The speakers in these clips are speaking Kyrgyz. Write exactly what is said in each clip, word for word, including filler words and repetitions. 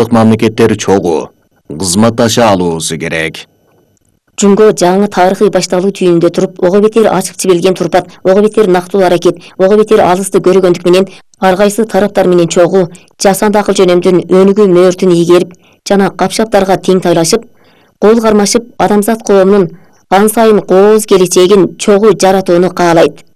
Мамлекеттер чогуу кызматташа алуусу керек. Жумго жаңы тарыхый башталуу түйүндө туруп, ого бетер ачык жибилген турпат, ого бетер нактылуу аракет, ого бетер алысты көрөгөндүк менен ар кайсы тараптар менен чогуу, жасанды акыл жөнөмдүн өнүгүү мөөртүн ийгерип жана капшаптарга тең тайлашып, кол кармашып, адамзат коомунун ан сайын кооз келечегин чогуу жаратууну каалайт.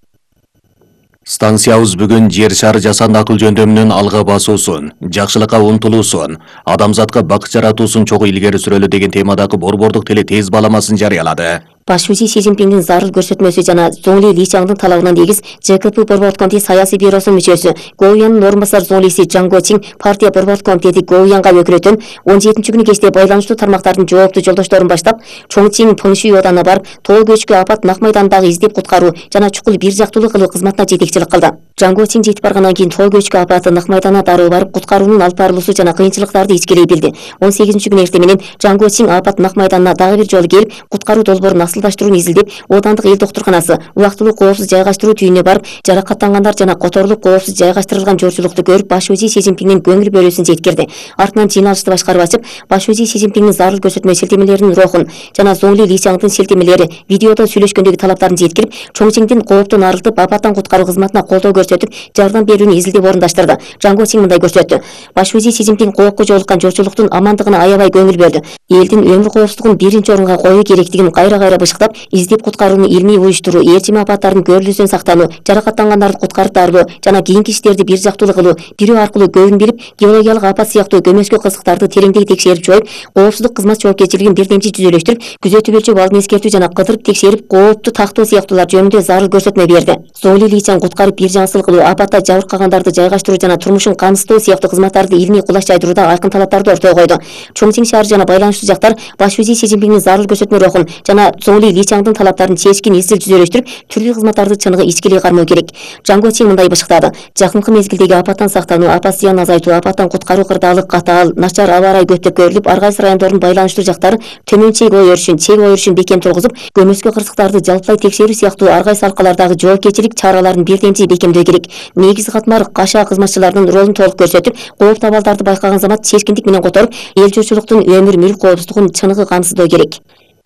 Станциябыз бүгүн жер шары жасанды акыл жөндөмүнүн алга басуусун, жакшылыкка умтулуусун, адамзатка бакыт жаратуусун чогуу илгери сүрөлү деген темадагы борбордук теле тез баламасын жарыялады. Башчысы Си Цзиньпиндин зарыл көрсөтмөсү жана Зоңли Личаңдын талабынан негиз ЖКП борбордук комитети саясий бюросунун мүчөсү, Гоуяндын орун басар зоңлиси Жан Гочин партия борбордук комитети Гоуянга өкүлөтөн он жетинчи күнү кечте байланыштуу тармактардын жооптуу жолдошторун баштап, Чоңчин Пыңши оодуна барып, тоо көчкү апат Нак майдандагы издеп куткаруу жана чукул бир жактуулук кылуу кызматына жетекчилик кылды. Жан Гочин жетип баргандан кийин тоо көчкү апаты Нак майданына дароо барып, куткаруунун алып барылуусу жана кыйынчылыктарды ичкилей билди. он сегизинчи күнү эртең менен Жан Гочин апат Нак майданына дагы бир жолу келип, куткаруу долбоорун асылдаштырууну изилдеп, Оодандык эл доктурканасы убактылуу коопсуз жайгаштыруу түйүнүнө барып, жаракаттангандар жана которулуп коопсуз жайгаштырылган жолчулукту көрүп, башчы Си Цзиньпиндин көңүл бөлүүсүн жеткирди. Артынан жыйналышты башкарып ачып, башчы Си Цзиньпиндин зарыл көрсөтмө шилтемелеринин рухун жана Зоңли Личаңдын шилтемелери видеодо сүйлөшкөндөгү талаптарын жеткирип, Чоңчиңдин кооптон арылтып, апаттан куткаруу кызматына колдоо көрсөтүп, жардам берүүнү изилдеп орундаштырды. Жан Гочин мындай көрсөттү: башчы Си Цзиньпин коопко жолуккан жолчулуктун амандыгына аябай көңүл бөлдү. Элдин өмүр коопсуздугун биринчи орунга коюу керектигин кайра-кайра бышыктап, издеп куткарууну илмий уюштуруу, ээрчим апаттардын көрүлүүсүнөн сактануу, жаракаттангандарды куткарып дарылоо жана кийинки иштерди бир жактуулуу кылуу, бирөө аркылуу көбүн билип, геологиялык апат сыяктуу көмөскө кызыктарды тереңдей текшерип жоюп, коопсуздук кызмат жоопкерчилигин бирдемчи жүзөлөштүрүп, күзөтүү өлчөп алдын эскертүү жана кыдырып текшерип, коопту тактоо сыяктуулар жөнүндө зарыл көрсөтмө берди. Зоңли Личаң куткарып бир жаңсыл кылуу, апатта жабыркагандарды жайгаштыруу жана турмушун камсыздоо сыяктуу кызматтарды илмий кулаш жайдырууда айкын талаптарды ортого койду. Чоңчиң шаары жана байланыштуу жактар башчы Си Цзиньпиндин зарыл көрсөтмө рухун жана Зоңли Личаңдын талаптарын чечкин изил жүзөлөштүрүп, түрлүү кызматтарды чыныгы ичкилей кармоо керек. Жан Гочин мындай бышыктады: жакынкы мезгилдеги апаттан сактануу, апат зыянын азайтуу, апаттан куткаруу кырдаалык катаал, начар аба ырайы көптөп көрүлүп, ар кайсы райондордун байланыштуу жактары төмөн чек ой өрүшүн, чек ой өрүшүн бекем тургузуп, көмөскө кырсыктарды жалпылай текшерүү сыяктуу ар кайсы алкалардагы жоопкерчилик чараларын бирдемчи бекемдөө керек. Негизги катмар кашаа кызматчыларынын ролун толук көрсөтүп, кооптуу абалдарды байкаган замат чечкиндик менен которуп, эл журтчулуктун өмүр мүлк коопсуздугун чыныгы камсыздоо керек.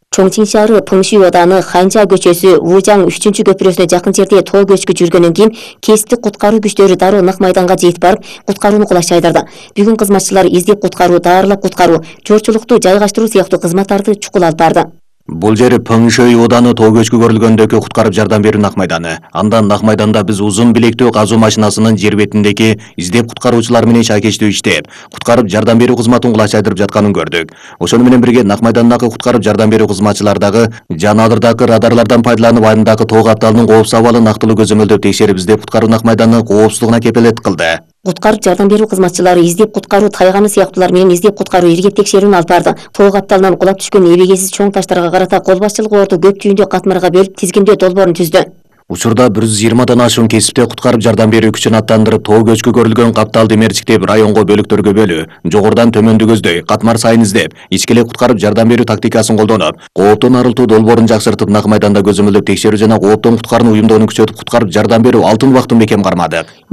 Чоңчин шаары Пыңши ооданы Ханча көчөсү Вужаң үчүнчү көпүрөсүнө жакын жерде тоо көчкү жүргөндөн кийин кесиптик куткаруу күчтөрү дароо Нак майданга жетип барып, куткарууну кулаш жайдырды. Бүгүн кызматчылар издеп куткаруу, даарылап куткаруу, жолчулукту жайгаштыруу сыяктуу кызматтарды чукул алып барды. Бул жер Пыңши ооданы тоо көчкү көрүлгөндөгү куткарып жардам берүү Нак майданы. Андан Нак майданда биз узун билектүү казуу машинасынын жер бетиндеги издеп куткаруучулар менен шайкештүү иштеп, куткарып жардам берүү кызматын кулаш жайдырып жатканын көрдүк. Ошону менен бирге Нак майдандагы куткарып жардам берүү кызматчылар дагы жанадырдагы радарлардан пайдаланып, айылдагы тоо капталынын коопсуз абалын нактылуу көзөмөлдөп текшерип, издеп куткаруу Нак майданынын коопсуздугуна кепилдик кылды. Куткарып жардам берүү кызматчылары издеп куткаруу тайганы сыяктуулар менен издеп куткаруу иргеп текшерүүнү алып барды. Тоо капталынан кулап түшкөн эбегесиз чоң таштарга карата кол башчылык орду көп түйүндө катмарга бөлүп, тизгиндөө долбоорун түздү. Учурда бир жүз жыйырмадан ашуун кесипте куткарып жардам берүү күчүн аттандырып, тоо көчкү көрүлгөн капталды мерчиктеп, районго бөлүктөргө бөлүү, жогорудан төмөндү көздөй, катмар сайын издеп, ичкилей куткарып жардам берүү тактикасын колдонуп, кооптон арылтуу долбоорун жакшыртып, Нак майданда көзөмөлдөп текшерүү жана кооптон куткарууну уюмдоону күчөтүп, куткарып жардам берүү алтын убактын бекем кармадык.